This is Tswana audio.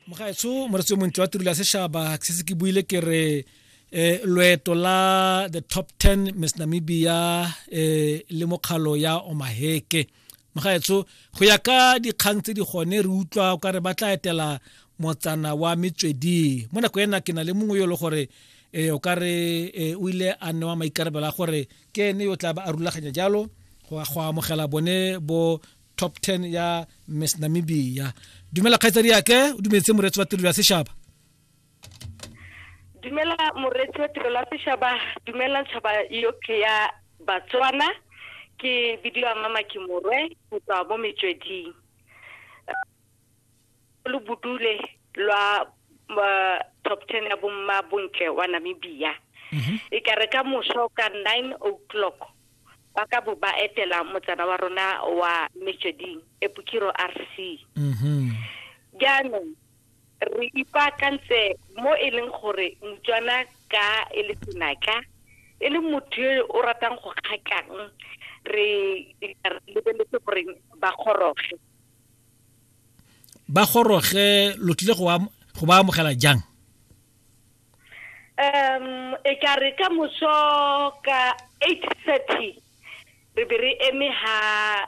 Mogaetsho moretsi montle wa tirelo ya sešaba, ke setse ke buile ke re loeto la the top 10 Miss Namibia le mokgalo ya Omaheke. Mogaetsho, go ya ka dikgang tse di gone re utlwa o ka re ba tla etela motsana wa Metsweding. Mo nako ena ke na le mongwe yo e le gore o ka re o ile a newa maikarabelo a gore ke ene yo tla ba a rulaganya jalo go amogela bone bo top 10 ya Miss Namibia. Dumela kgaitsadi yake, o dumetse moreetsi wa tirelo ya sešaba. Dumela moreetsi wa tirelo ya sešaba, dumela tšhaba yotlhe ya Batswana. Ke bidiwa Mama Kimorwe go tswa mo Metsweding. Lo bodule lwa top 10 ya bomma bontle wa Namibia. E ka re ka moso ka 9 o'clock ba ka bo ba etela motsana wa rona wa Metsweding, Epukiro RC. Jaanong re ipaakantse mo e leng gore Motswana ka e le senatla, e le motho yo o ratang go kgakang, re lebeletse gore ba goroge. Ba goroge, lo tlile go ba amogela jang? E ka re ka moso ka 8:30 re be re eme ha